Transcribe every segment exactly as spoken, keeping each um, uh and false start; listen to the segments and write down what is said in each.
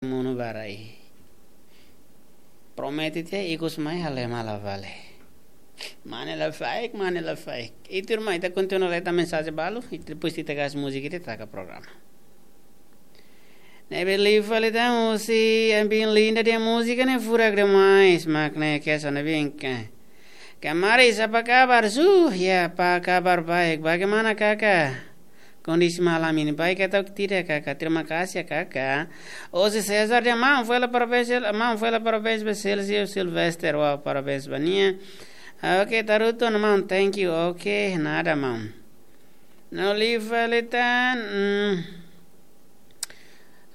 monu ba rai. Promete tiha ikus mai halo ema la vale. Mane la faik, mane la faik. Ita irmaun, ita kontinua leta mensajen balu, ita depois ita gas múzika ita taka programa. Ne'ebé liu fali tan husi Ambin Linda nia múzika ne'e furak demais, mak ne'e kesan Ambin ka. Kamaris, apa kabar? Su, ya, apa kabar baik. Bagaimana kakak? Kondisi malam ini baik atau tidak, kakak? Terima kasih, kakak. Husi Cesar nia maun, fali parabéns, maun, fali parabéns ba Celso Silvester, wow, parabéns ba nia. Oke, tarutu, maun, thank you. Oke, nada, maun. No liu fali tan, mm.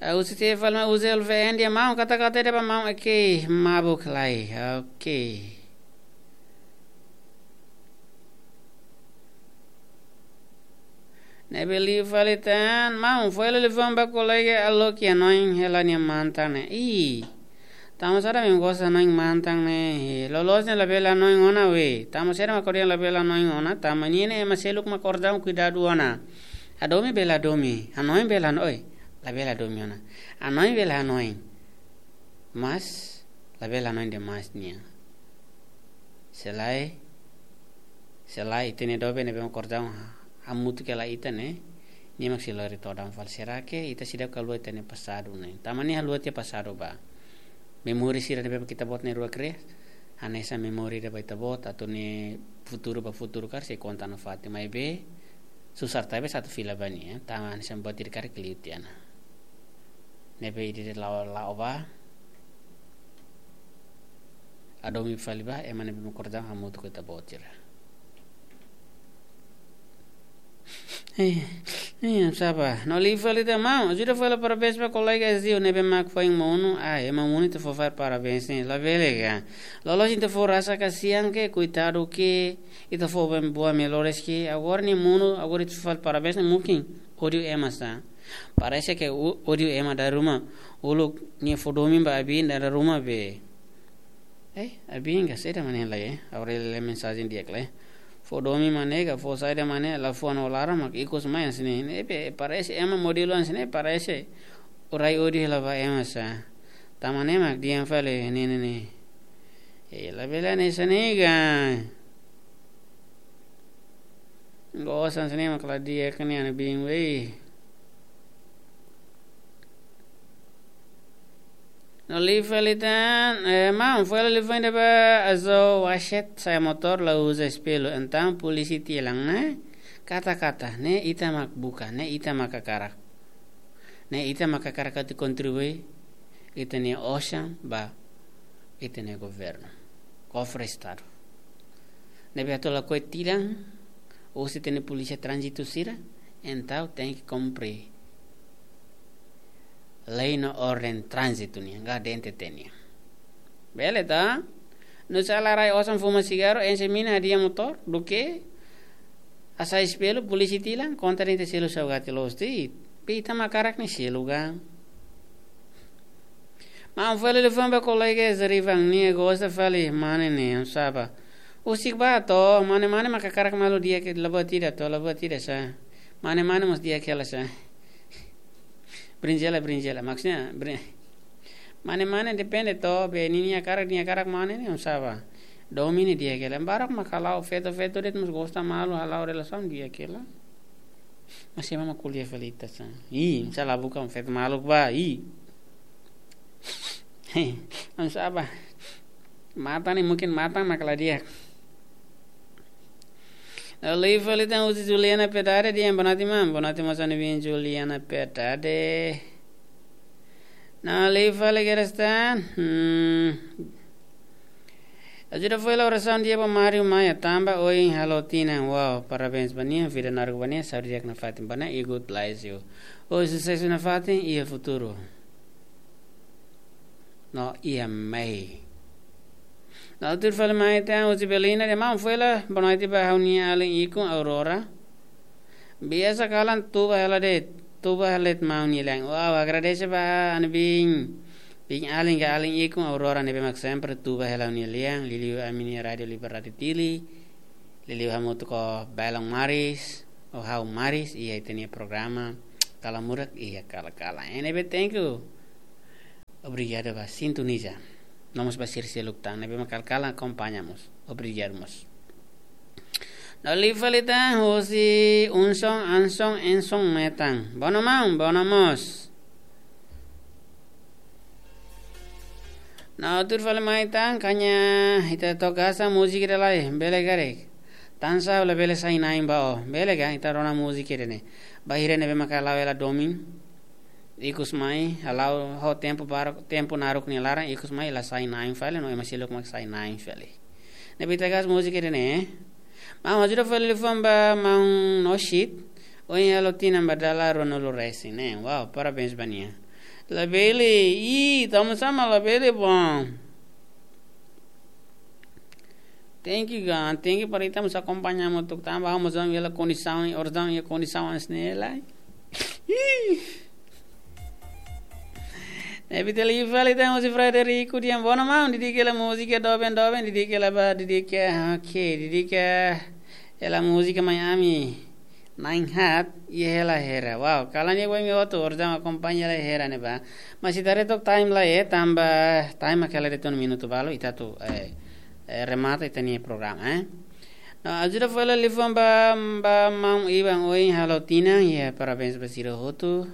Ah, husi te fali mai husi L V N nia maun, kata-kata ida ba maun, oke, mabuk lai, oke. Ne'ebé liu fali tan, maun, fali liafuan ba kolega Aloki, hanoin hela nia mantan ne'e. Ih, tanba saida mak gosta hanoin mantan ne'e. Loloos ne'e labele hanoin ona we. Tanba saida mak ko'alia labele hanoin ona. Tanba nia ne'e ema seluk mak kordang kuidadu ona. Hadomi bele hadomi. Hanoin bele hanoin. Oi, labele hadomi ona. Hanoin bele hanoin. Mas, labele hanoin demais nia. Se lae, se lae ita-nia doben ne'ebé mak kordang ha-, hamutuk hela ita ne'e, nia mak sei lori todan fali. Será que ita seidauk haluha ita-nia pasadu ne'e? Tanba nia haluha tiha pasadu ba. Memória sira ne'ebé mak ita-boot na'in-rua kria, hanesan memória ida ba ita-boot, atu nia futuru ba futuru karik sei konta nafatin, maibé susar tebe satu fila ba nia, tanba hanesan buat ida karik liu tiha ona. Ne'ebé ida-idak la'o, la'o ba. Hadomi fali ba ema ne'ebé mak kordang hamutuk ho ita-boot sira. Eh, eh, sapa? No liu fali tan maun. Ajuda fali parabéns ba kolega Ezio ne'ebé mak foin monu. Ah, ema monu ita fó fali parabéns ne'e. Labele ka. Loloos ita fó rasa kasihan ke, koitadu ke, ita fó buat melhores ke. Agora nia monu, agora ita fó fali parabéns ne'e mungkin ódiu ema sá. Parese ke ó-, ódiu ema dala ruma. Uluk nia fó domin ba Abin dala ruma be. Eh, Abin ka saida mak ne'e lai, eh? Aurel lee mensajen di'ak lai. Fó domin mak ne'e ka, fó saida mak ne'e, la fó no lara mak ikus mai hanesan ne'e. Ne'ebé parese ema modelu hanesan ne'e, parese rai ódiu hela ba ema sá. Tanba ne'e mak dehan fali ne'e, ne'e, ne'e. Eh, labele hanesan ne'e ka. Gosta hanesan ne'e mak la di'ak ne'e, Ana Bin, wei. No liu fali tan, eh, maun, fali liafuan ida ba Azo Washet, sa'e motór la uza espellu, entaun polísia tilang, ne'e? Kata-kata, ne'e ita mak buka, ne'e ita mak hakarak. Ne'e ita mak hakarak atu kontribui ita-nia osan ba ita-nia governu, kofre Estadu. Ne'ebé atu lakohi tilang, husi ita-nia polísia tránzitu sira, entaun tenke kumpre lei no orden tránzitu nian, ka D N T T nian. Bele ka? Nusá la rai osan fuma sigarru, enxe mina, hadi'a motór, duké hasai espellu, polísia tilang, konta de'it selu saugati loos de'it. Be ita mak hakarak ne'e selu ka. Maun, fali liafuan ba kolega Zarivan, nia gosta fali mane ne'e, oinsá ba. Husik ba to, mane-mane mak hakarak malu di'ak, la buat ida to, la buat ida sá. Mane-mane mós di'ak hela sá. Brinjela, brinjela. Maksudnya, brin-, mane-mane depende to, be ninia hakarak, nia hakarak mane ne'e, oinsá ba. Domin ne'e di'ak hela. Barak mak hala'o feto-feto de'it mós gosta malu, hala'o relasaun di'ak hela. Mas ema mak ko'alia fali ita sá. Ih, oinsá la buka feto maluk ba, ih. Hei, oinsá ba. Matan ne'e mungkin matan mak la di'ak. Liu fali tan husi Juliana Pedade, dehan boa noite, maun. Boa noite, maun, Ana Bin, Juliana Pedade. No liu fali kedas tan. Hmm. Ajuda fali orasaun di'ak ba Mário Maia, tanba ohin halo tinan. Wow, parabéns ba nia, vida naruk ba nia, saúde di'ak nafatin ba nia, e good bless you. Ho susesu nafatin, iha futuru. No iha mehi. No tuir fali mai tan husi Belinda, dehan maun, fali boa noite ba ha'u-nia alin ikun Aurora. Biasa kalan tuba hela de'it, tuba hela de'it maun nia lian. Wow, agradese ba Ana Bin, Bin alin ka alin ikun Aurora ne'ebé mak sempre tuba hela nia lian, liuliu ami-nia Rádio Liberdade Dili, liuliu hamutuk ho Belong Maris, ho ha'u Maris, iha ita-nia programa Kala Murak, iha Kala-Kala. Ne'ebé, thank you. Obrigadu ba sintoniza. No mós ba sira seluk tan ne'ebé mak kalan akompaña mós. Obrigadu mós. No liu fali tan husi Unson Anson Enson Metan. Bono maun, bono mós. No tuir fali mai tan, kaña ita toka sa múzika ida lai, bele karik. Tansa labele sai na'in ba ó, bele ka, ita rona múzika ida ne'e. Bainhira ne'ebé maka la'o hela domin. Ikus mai, hala'o ho tempu barak, tempu naruk nia laran, ikus mai la sai na'in fali, no ema seluk mak sai na'in fali. Ne'ebé ita gasta múzika ida ne'e. Maun ajuda fali liafuan ba maun Noshit, ohin halo tinan ba dala ruanulu resin ne'e. Wow, parabéns ba nia. Labele, ih, tamo sama labele bom. Thank you, gan. Thank you para ita mós akompaña hamutuk tanba ha'u mós iha kondisaun, orsida iha kondisaun hanesan ne'e lai. Ih. Ne'ebé ita liu fali tan husi Frederico dehan bono maun, dedika hela múzika doben doben, dedika hela ba, dedika, oke, dedika hela múzika mai ami. Na'in haat, iha hela hera. Wow, kalan iha ba imi hotu, orsida akompaña hela hera ne'ebá. Mas ita haree took time lai, eh, tanba time mak hela de'it ona minutu balu, ita atu, eh, eh, remata ita-nia programa, eh. No, ajuda fali liafuan ba, ba maun Iban ohin halo tinan, ya, parabéns ba sira hotu.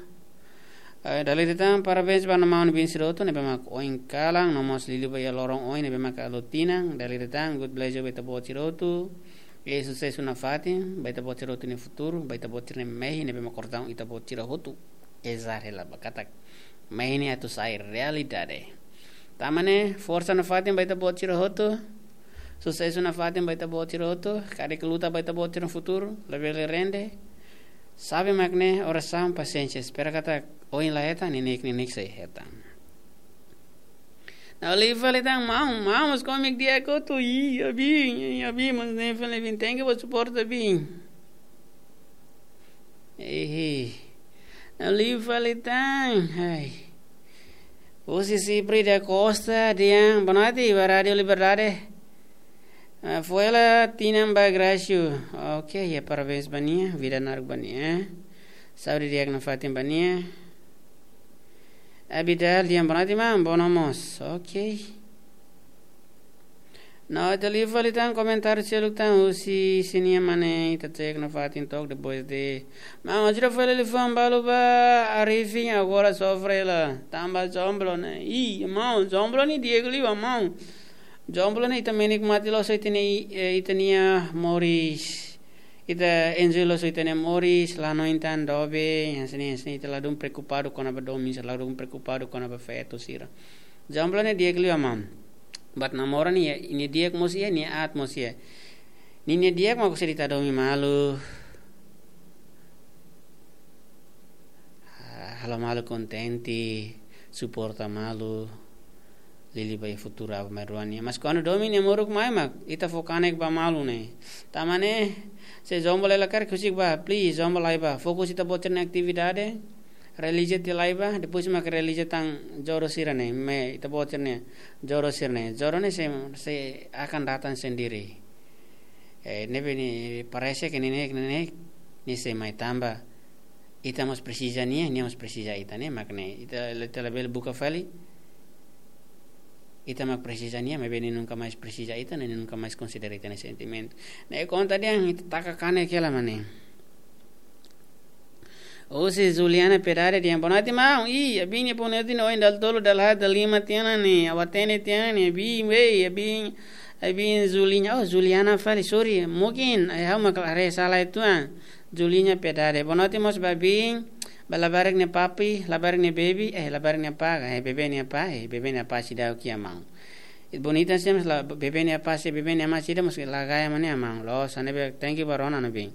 Eh, dala ida tan, parabéns ba maun Iban sira hotu, ne'ebé mak ohin kalan, no mós liuliu ba iha loron ohin, ne'ebé mak halo tinan, dala ida tan, God bless you ba ita-boot sira hotu. I susesu nafatin ba ita-boot sira hotu nia futuru, ba ita-boot sira-nia mehi ne'ebé mak orsida ita-boot sira hotu ezar hela ba katak mehi ne'e atu sai realidade. Tanba ne'e, forsa nafatin ba ita-boot sira hotu, susesu nafatin ba ita-boot sira hotu, karik luta ba ita-boot sira-nia futuru, labele rende. Sabe mak ne'e, orasaun, pasiénsia, espera katak ohin la hetan, neineik-neineik sei hetan. No liu fali tan maun, maun mós komik di'ak hotu, ih, abin, ih, abin, mas ne'e fali bin, thank you ba suporta bin. Ehe. No liu fali tan, hai. Husi Sipri da Costa, dehan, boa noite, ba Rádio Liberdade. Ah, foin hela tinan ba Gracio. Oke, ya, parabéns ba nia, vida naruk ba nia. Saúde di'ak nafatin ba nia. Abidal dehan boa noite maun, boa noite mós. Oke. No, ita liu fali tan komentáriu seluk tan husi sira-nia mane ita cek nafatin took depois de. Maun ajuda fali liafuan balu ba Arifin agora sofre la. Tanba jomblo ne'e. Ih, maun, jomblo ne'e di'ak liu maun. Jomblo ne'e ita menikmati loos ita-nia, eh, ita-nia moris. Ita enjoy loos ita-nia moris, la no intan dobe, hanesan ne'e, hanesan ne'e, ita ladún preokupadu kona-ba domin, ladún preokupadu kona-ba feto sira. Jomblo ne'e di'ak liu maun. But namora ne'e, nia di'ak mós iha, nia aat mós iha. Ninia di'ak mak konsege ita domin malu. Ah, halo malu kontente, suporta malu. Liuliu ba iha futuru aban-bainrua nian. Mas kuandu domin nia moruk mai mak, ita fó kanek ba malu ne'e. Tanba ne'e, se jomblo la karik husik bá, please, jomblo la'o bá. Fokus ita-boot sira-nia atividade, realiza tiha la'o bá, depois mak realiza tan jodoh sira-ne'e, mai ita-boot sira-nia jodoh sira-ne'e. Jodoh ne'e sei, sei akan datang sendiri. Eh, ne'ebé ne'e parese ke ne'e, ne'e, ne'e, ne'e sei mai tanba. Ita mós presiza nia, nia mós presiza ita, ne'e mak ne'e. Ita, ita labele buka fali. Ita mak presiza nia, maibé nia nunka mais presiza ita, nia nunka mais konsidera ita-nia sentimentu. Ne'e konta dehan, ita taka kanek hela mak ne'e. Husi Juliana Pedare dehan, boa noite maun. Ih, abin nia boa noite ne'e ohin dala tolu, dala haat, dala lima tiha ona ne'e, ha'u hatene tiha ona ne'e, abin, wei, abin, abin Juliana, oh, Juliana fali, sorry, mungkin, eh, ha'u mak haree sala uitoan. Juliña Pedare. Boa noite mós ba abin, ba labarik nia papi, labarik nia bebé, eh, labarik nia apá, eh, bebé nia apá, eh, bebé nia apá seidauk iha maun. Bonita sih, mas la, bebé nia apá, se bebé nia amá seidauk, mós la gaya mane maun. Loos, hanesan ne'e, thank you ba rona no bin.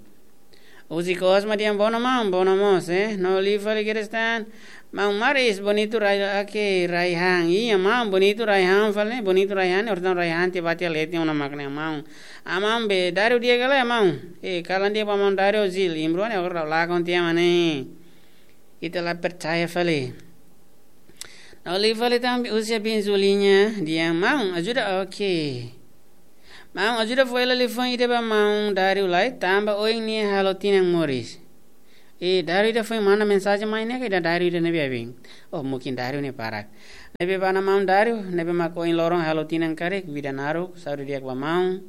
Husi Cosma dehan boa noite maun, boa noite mós, eh. No liu fali kedas tan. Maun Maris, bonitu Rai, oke, Raihan. Iya, maun, bonitu Raihan fali, bonitu Raihan, orsida Raihan tiha ba tiha leten ona mak ne'e maun. Maun be, Dario di'ak ka lae maun. Eh, kalan di'ak ba maun Dario Zil. Imruan ya, ora lakon tiha mak ne'e. Ita la percaya fali. No liu fali tan husi abin Juliña dehan maun, ajuda, oke. Maun, ajuda fó hela liafuan ida ba maun Dario lai, tanba ohin nia halo tinan moris. Eh, Dario ida foin manda mensajen mai ne'e ka ida Dario ida ne'ebé abin. Oh, mungkin Dario ne'e barak. Ne'ebé ba maun Dario, ne'ebé mak ohin loron halo tinan karik, vida naruk, saúde di'ak ba maun.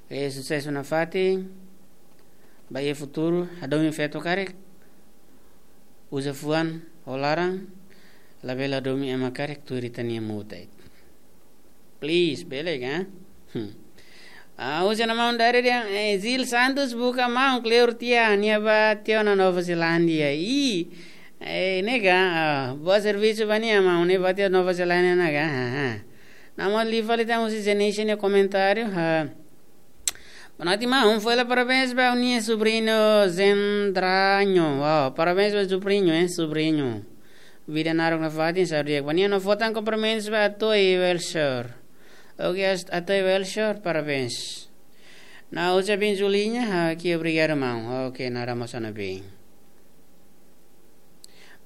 E susesu nafatin, ba iha futuru, hadomi feto karik, uza fuan ho laran, labele hadomi ema karik tuir ita-nia muta. Please, bele ka? Hmm. Ah, husu ona maun Dario dehan, eh, Zil Santos buka maun kleur tiha, nia ba tiha ona Nova Zelándia. Ih, eh, ne'e ka, ah, boa servisu ba nia maun, nia ba tiha Nova Zelándia ona ka, ha, ha. Namun liu fali tan husi Zenisha nia komentáriu, ha. Boa noite maun, foin hela parabéns ba ha'u-nia subriñu Zendraño. Wow, parabéns ba subriñu, eh, subriñu. Vida naruk nafatin, saúde di'ak ba nia, no fó tan kumprimentus ba Atoi Welshore. Oke, as-, Atoi Welshore, parabéns. Nau uza bin Julinha, ha, ki obrigadu maun. Oke, nada mós ona bin.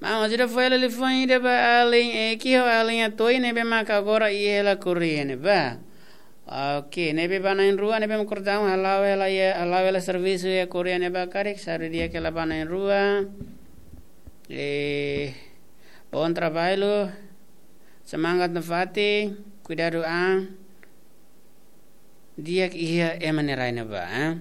Maun, ajuda foin hela liafuan ida ba alin, eh, ki ho alin Atoi ne'ebé maka agora iha hela kuria ne'ebá. Oke, ne'ebé ba na'in-rua, ne'ebé mak kordau, hala'o hela iha, hala'o hela servisu iha kuria ne'ebá karik, saúde di'ak hela ba na'in-rua. Eh, bom trabalho. Semangat nafatin, kuidadu an. Di'ak iha ema nia rai ne'ebá, eh?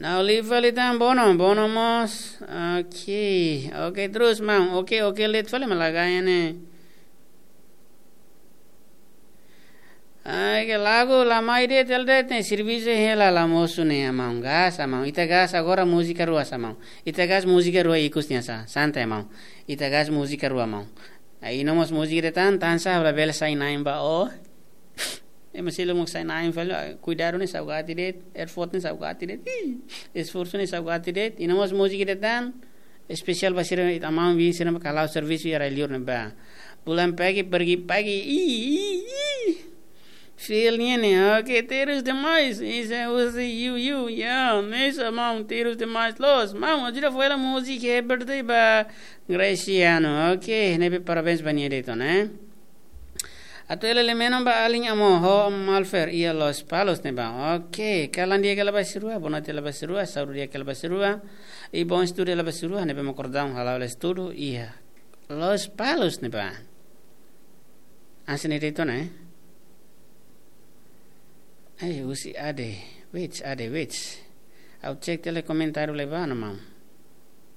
Nau liu fali tan Bono, Bono mós. Oke, oke, terus maun. Oke, oke, let fali malagai ne'e. Ai, ke lagu la mai de'it, tel de'it ne'e, servisu hela la mosu ne'e, maun, gas, maun. Ita gas agora múzika rua sá, maun. Ita gas múzika rua ikus nian sá, santai, maun. Ita gas múzika rua, maun. Ai, no mós múzika de'it tan, tan sá, labele sai na'in ba ó. Ema seluk mak sai na'in fali, ah, kuidadu ne'e saugati de'it, effort ne'e saugati de'it. Ih, esforsu ne'e saugati de'it. I no mós múzika de'it tan, espesiál ba sira, ita maun bin sira mak hala'o servisu iha rai-liur ne'ebá. Pulang pagi, pergi pagi. Ih, ih, ih. Feel nian ne'e, oke, terus demais. Isso é uzi, you, you, yeah. Nessa maun, terus demais. Los, maun, ajuda foin hela múzika happy birthday ba Graciano. Oke, ne'ebé parabéns ba nia de'it ona, eh? Atu hela lemeno ba alin Amo ho Malfer iha Lospalos ne'ebá. Oke, kalan di'ak hela ba sira rua, boa noite hela ba sira rua, saúde di'ak hela ba sira rua. I bom estudu hela ba sira rua, ne'ebé mak kordau hala'o hela estudu iha Lospalos ne'ebá. Hanesan ne'e de'it ona, eh? Ai, husi Ade, wait, Ade, wait. Ha'u cek tiha hela komentáriu ne'ebá ona, maun.